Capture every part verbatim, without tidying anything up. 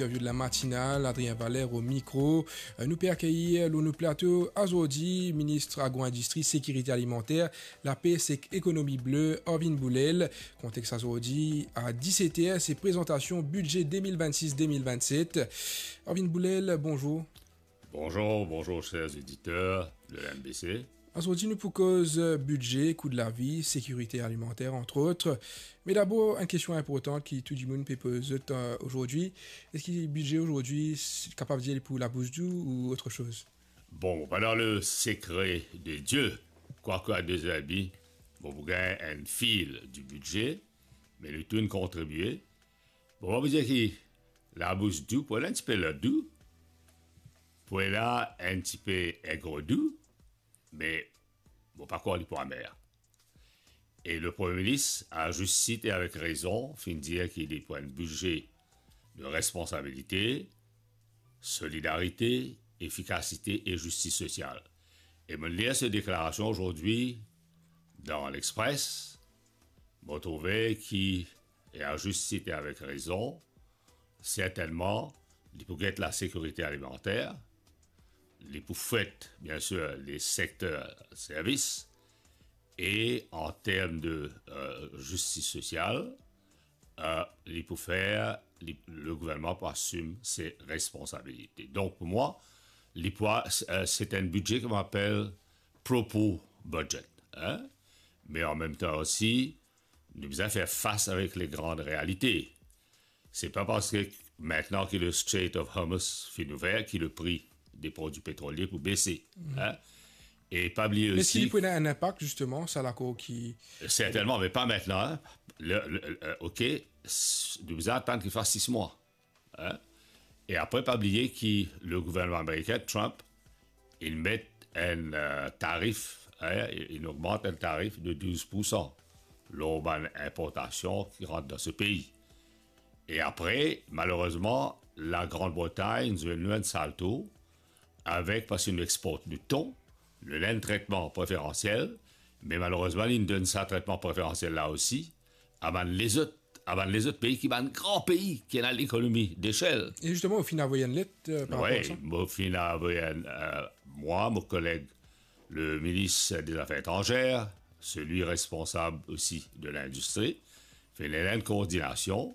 Interview de la matinale, Adrien Valère au micro. Euh, nou pe akeyir lor nou plato azordi, minis agro-indistri, sekirite alimanter, lapes ek ekonomi ble, Arvin Boulel. Kontex azordi, a diset er, se prezantasion bidze de mil vennsis de mil vennset. Arvin Boulel, bonzour. Bonzour, bonzour, chers auditeurs de l'M B C. Azordi, nou pou koz, euh, bidze, kou de lavi, sekirite alimanter, entre autres. Me dabor, enn kestion inportan ki tou dimoun pe poz, euh, azordi, eski bidze azordi, s-, kapav dir li pou labous dou ou autre chose? Bon, pa dan le sekre de Die, kwake a dezerbi, bon, pou gagn enn fil di bidze, me nou tou inn kontribie. Bon, pa pou dir ki labous dou, pou ena enn tipe ler dou, pou ena enn tipe ingre dou, me mo pa krwar li pou amer. E le Premie Minis, a zis tit e avek rezon, finn dir ki li pou enn bidze de responsabilite, solidarite, efikasite e zistis sosial. E mo lir so deklarasion azordi dan L'Express, mo trouve ki, e a zis tit e avek rezon, sertennman, li pou get lasekirite alimanter, li pou fwet, bien sir, le sekter servis, e an term de, euh, zistis sosial, euh, li pou fer, li, le gouvernman pou asim se responsabilite. Donk, pou mwa, li pou, euh, se enn bidze ki mo apel proper budget, hein? Me an mem tan osi, nou bizin fer fas avek le gran realite. Se pa parski mintnan ki le Strait of Hormuz finn ouver ki le pri de prodwi petrolie pou bese, hein? E pa bliye osi... Me si li pou ena enn inpak, zisteman, sa lakor ki... Sertennman, me pa mintnan, hein? Le, le, euh, ok, s-, nou bizin atann ki fas sis mwa, hein? E apre, pa bliye ki le gouvernman amerikin, Trump, inn met enn, euh, tarif, hein, inn ogmant enn tarif de douz poursan lor bann inportasion ki rant dan so pei. E apre, malerezman, Lagrand Bretagn zwenn nou enn sal tour avek, parski nou export nou ton, nou ena enn tretman preferansiel, me malerezman, li donn sa tretman preferansiel la osi a bann lezot, a bann lezot pei ki bann gran pei, ki ena lekonomi dechel. E zisteman, ou finn avoy enn let, euh, par rapor a sa? Wi, mo finn avoy enn, euh, mwa, mo koleg, le minis de zafer etranzer, selwi responsab osi de lindistri, finn ena enn koordinasion,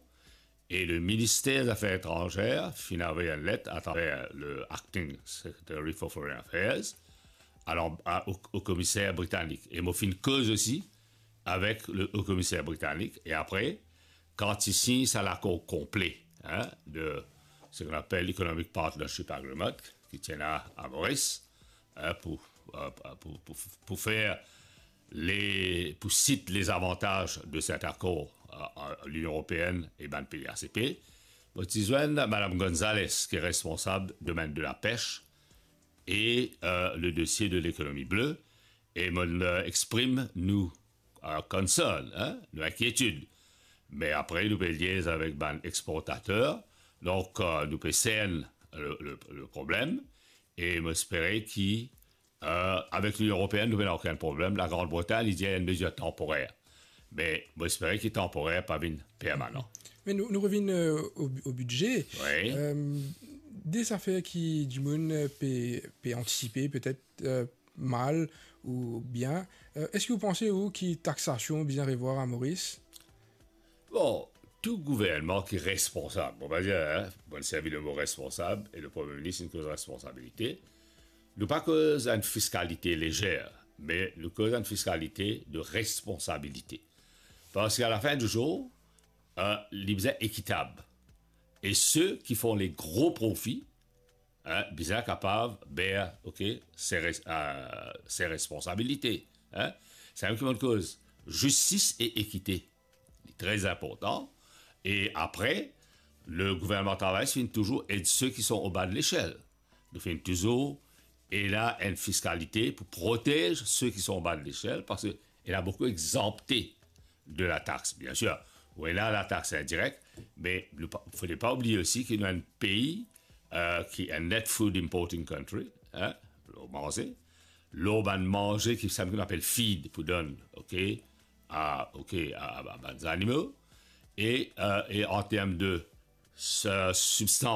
e le minister zafer etranzer finn avoy enn let atraver le Acting Secretary for Foreign Affairs, alor, a, o, o komiser britanik. E mo finn koz osi avek le o komiser britanik. E apre, kan ti sign sa lakor konple, hein, de seki nou apel Economic Partnership Agreement, ki ti ena a Moris, hein, pou, euh, pou, pou, pou fer le, pou sit lezavantaz de set akor, euh, euh, Linion Eropeenn e bann pei A C P, mo ti zwenn Madam Gonzalez, ki responsab domenn de lapes e, euh, le dosie de lekonomi ble, e mo, euh, exprim nou, euh, concern, hein, nou inkietid. Me apre, nou pe liez avek bann exportater, donk, euh, nou pe sern le, le, le problem, e mo espere ki, euh, avek Linion Eropeenn, nou pena okenn problem. Lagrand Bretagn, li dir enn mezir tanporer. Me mo espere ki tanporer pa vinn permanan. Me nou, nou revinn, euh, o, o bidze. Wi. Euh, de zafer ki dimoun, euh, pe, pe antisipe, petet, euh, mal ou bien. Euh, eski ou panse ou ki taxasion bizin revwar a Moris? Bon, tou gouvernman ki responsab, mo pa dir, hein, mo servi le mo responsab, e le Premie Minis inn koz responsabilite. Nou pa koz enn fiskalite lezer, me nou koz enn fiskalite de responsabilite. Parski a la fin di zour, euh, li bizin ekitab. E seki fer le gro profi, hein, bizin kapav ber, ok, se res-, euh, se responsabilite, hein. Samem ki mo koz, zistis e ekite, li tre inportan. E apre, le gouvernman travay finn touzour ed seki anba lesel. Nou finn touzour ena enn fiskalite pou protez seki anba lesel, parski ena boukou exanpte de latax, bien sir. Ou ena latax indirek, me nou pa, fode pa oubliye osi ki nou enn pei, euh, ki enn net food importing country, hein, lor manze, lor bann manze ki samem ki nou apel feed pou donn, ok, a, ok, a, a, a bann zanimo, e, euh, e an term de s-, sibstans